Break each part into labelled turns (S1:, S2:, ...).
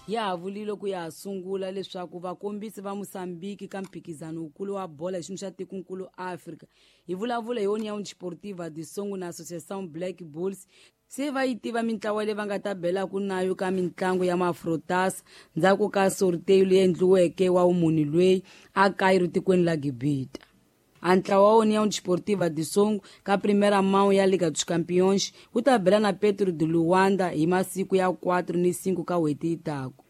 S1: Ya ha vulile ku ya ha sungula leswaku vakombisi va Mosambiki ka mphikizano wukulu wa bola hi xiyimo xa tikonkulu Afrika, hi vulavula hi União Desportiva de Songo na Associação Black Bulls, se va yi tiva mintlawa leyi va nga ta belaku nayo ka mitlangu ya Maafrotasa ndzhaku ka sorteyo leyi endliweke wa vumunhu lweyi a Cairo, tikweni la Gibita. A ntlawa wa União Desportiva de Songo ka primeira mão ya Liga dos Campeões wu ta bela na Petro de Luanda hi masiku ya 4 ni 5 ka n'hweti yi taku,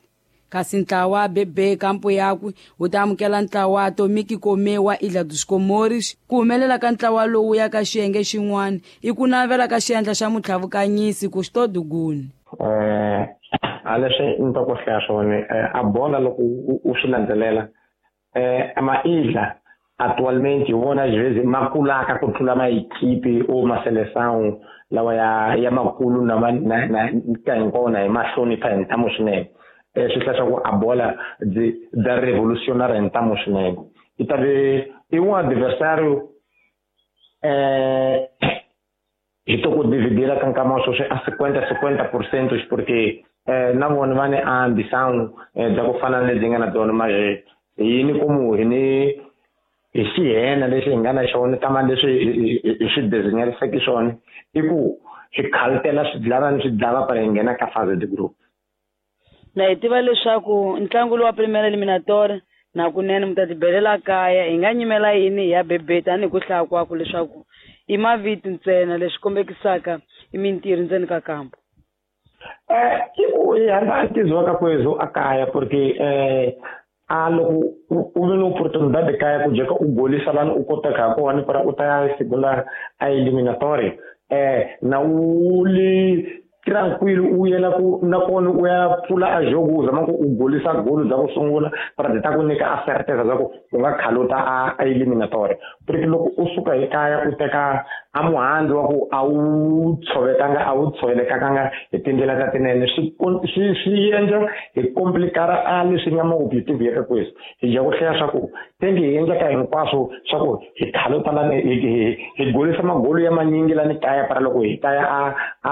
S1: kasi ntlawa wa BB kampo yakwe wu ta amukela ntlawa wa Atomic Kome wa Ilha dos Comores. Ku humelela ka ntlawa lowu ya ka xiyenge xin'wana i ku navela ka xiendla xa mutlhavukanyisi ku Xitoduguni.
S2: A leswi ni twa ku hlaya swona, a bola loko u swi landzelela, ma-ilha atualmente hi vona às ma kulaka ku tlula maequipe ou ma seleção lawa ya makulu na na na ka hinkwawo na hi ma hlonipha hi ntamu swinene. Swi hlaya swa ku a bola da revolucionária hi ntamu swinene i ta ve i um adversário hi to ku dividira ka nkama wa sweswi a 50-50%, porque na vona va ni ambição bya ku fana na lebyi nga na byona, mas hini como hi ni hi xihena lexi hi nga na xona kama leswi hi swi desenhariseke swona i ku hi khalutela swidlava ni swidlava para hi nghena ka fase de groupe.
S1: Na hi tiva leswaku ntlangu lowu wa Primera Eliminatória na kunene mi ta tibelela kaya, hi nga nyimela yini hi ya bebe tanihi ku hlaya kwaku leswaku i mavito ntsena, leswi kombekisaka i mintirho ndzeni ka kampo?
S2: I ku hi hamba tiziwa ka kwezo a kaya, porque a loko u ve ni oportunidade kaya ku jeka u golisa lani u kotaka ha kona para u ta ya segunda a eliminatória, na u li tranquilo u yela ku na kona u ya pfula a jogo u zama ku u golisa golo bya ku sungula para byi ta ku nyika a certeza bya ku u nga khaluta a eliminatória, porque loko u suka hi kaya u teka a muhandzu wa ku a wu tshovekanga, a wu tshovelekanga hi tindlela ta tinene, swi endla hi complikara a leswi nga ma-objective ya ka kwesi. Hi dya ku hlaya swa ku tenge hi endleka hinkwaswo swa ku hi khaluta lani hi golisa magolo ya manyingi lani kaya para loko hi ta ya a